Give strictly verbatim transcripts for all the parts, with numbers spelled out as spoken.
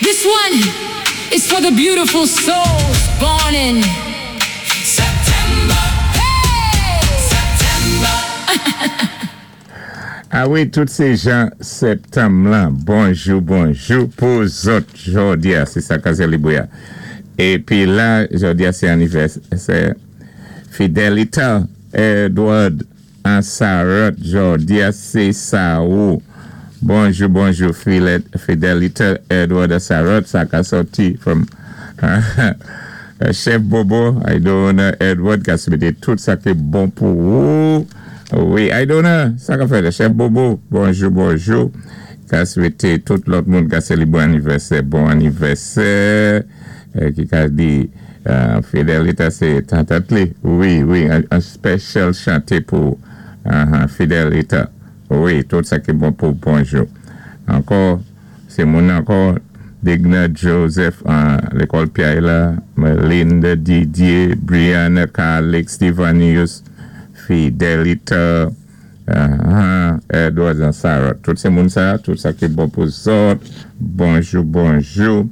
This one is for the beautiful souls born in September. Hey! September. A wi, tout sé jan septanm lan, bonjou, bonjou pou zòt jòdi-a, sé sa ka sélibwé. Épi la, jòdi-a sé anivèsè Fidelita Edward Ansarot, jòdi-a sé sa ou. Bonjou, bonjou, Fidelita Edward Ansarot, sa ka sòti from Chef Bobo, Idona Edward, ka swété tout sa ki bon pou ou. Wi, Idona, sa ka fèt, Chef Bobo, bonjou, bonjou. Ka swété tout lòt moun ka sélibwé anivèsè, bon anivèsè, ki ka di Fidelita sé tatat li. Wi, wi, an special chanté pou Fidelita. Wi, tout sa ki bon pou bonjou. Ankò, sé moun ankò, Digna Joseph, lékòl Piaye la, Melinda Didier, Brianna Calix, Stevanius, Fidelita, Edward and Sarah. Tout sé moun sa, tout sa ki bon pou zòt. Bonjou, bonjou.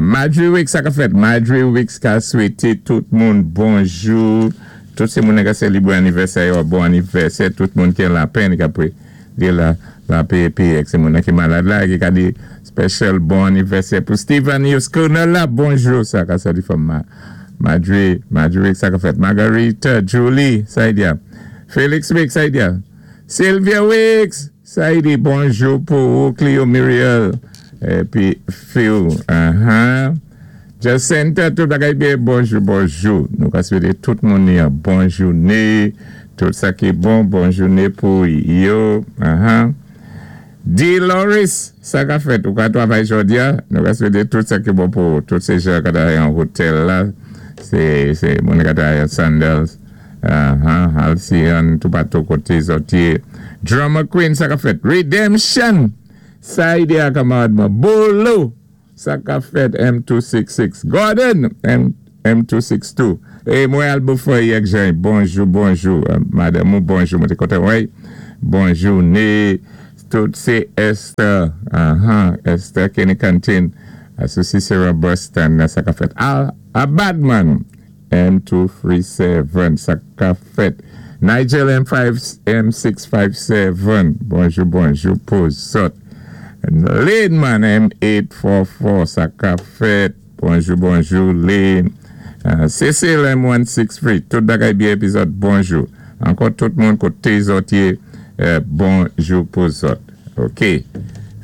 Marjorie Wicks, sa ka fèt. Marjorie Wicks ka swété tout moun bonjou. Tout sé moun ka sélibwé anivèsè yo, bon anivèsè. Tout moun ki la penn ka pwé di la la P P ek sé moun ki malad la ki ka di special bon anivèsè pou Stevanius Colonel la. Bonjou, sa ka sòti from Marjorie, Marjorie Wicks, sa ka fèt. Margarita, Julie, sa y di. Felix Wicks, sa y di. Sylvia Wicks, sa y di bonjou pou Cleo Muriel. Épi Phil, uh-huh. Jacinta, tout bagay byen, bonjou, bonjou. Nou ka swété tout moun yon bon jouné. Tout sa ki bon, bon jouné pou yo. Uh-huh. D. Loris, sa ka fèt, ou ka twavay jòdi-a, nou ka swété tout sa ki bon pou tout sé jan ka travay an otèl la, sé, sé moun ka travay an Sandals, uh-huh, Halcyon, tout patou koté zòt yé. Drama Queen, sa ka fèt. Redemption, sa y di a kamarad mwen. Bolo, sa ka fèt M two six six. Gordon, M, M two six two. E mwen al boufoy yek jan, bonjou, bonjou, madame ou bonjou, mwen te kontan wè, bonjou, ne, tout sé Esther, uh-huh, Esther Kenny Canteen, sou Cicero Boston, sa ka fèt. Al, a Badman, M two three seven, sa ka fèt. Nigel M five, M six five seven, bonjou, bonjou, pou zòt. Lane M eight four four, sa ka fèt. Bonjou, bonjou, Lane. Uh, Cecil M one six three, tout bagay byen épizòd, bonjou. Ankò tout moun koté zòt yé, euh, bonjou pou zòt. OK.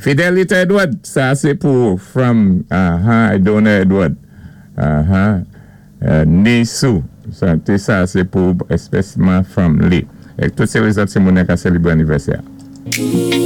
Fidelita Edward, sa sé pou from, uh-huh, Idona Edward. Uh-huh. Uh, Nisou, sa, sa sé pou espèsman from li. É tout sé lèzòt sé moun ka sélibwé anivèsè.